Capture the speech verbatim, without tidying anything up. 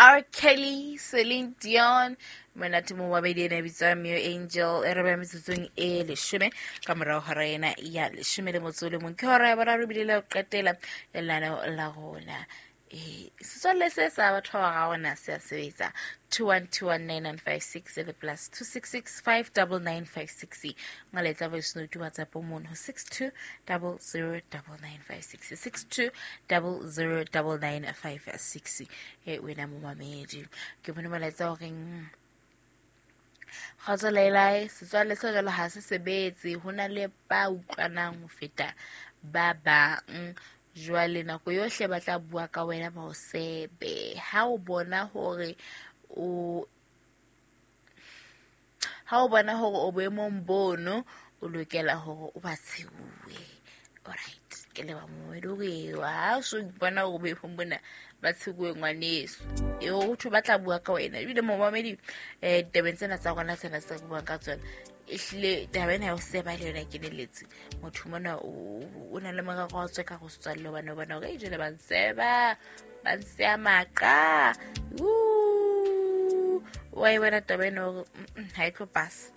R. Kelly, Celine Dion, monate mo babedi ena e bitswang Mio Angel, e re beha metsotsong e leshome ka morao hora ena ya leshome le motso o le mong. Ke hora ya boraro ebile la ho qetela lenaneo la rona. Eh, setswalle se sa batho ba ga ona se a sebetsa. two one two one nine nine five six le plus two six six five double nine five six. Molaetsa voice note WhatsApp mono ho six two double zero double nine five six, six two double zero double nine five six. Eh, wena momamedi, ke bone molaetsa o reng kgotso Laelae, setswalle se jwalo ha se sebetse, ho na le ba utlwanang ho feta ba bang. Jwale nako yohle ba tla bua ka wena ba o sebe. Ha o bona hore o ha o bona hore o boemong bono, o lokela hore o ba tshehuwe. Alright, ke leba momamedi o re ha o so bona hore o boemong bona, ba tshehuwe ngwaneso. E ho thwe ba tla bua ka wena. Ebile momamedi, eh, ditabeng tsena tsa rona tsena tse re buang ka tsona, ehlile taba ena ya ho seba le yona e kenelletse. Motho mona o, o na le morero wa ho tswa ka ho setswalle hobane o bona hore, ei, jwale ba nseba, ba nseya maqa. Wa e bona taba ena hore, mm, mm, ha e tlo pasa.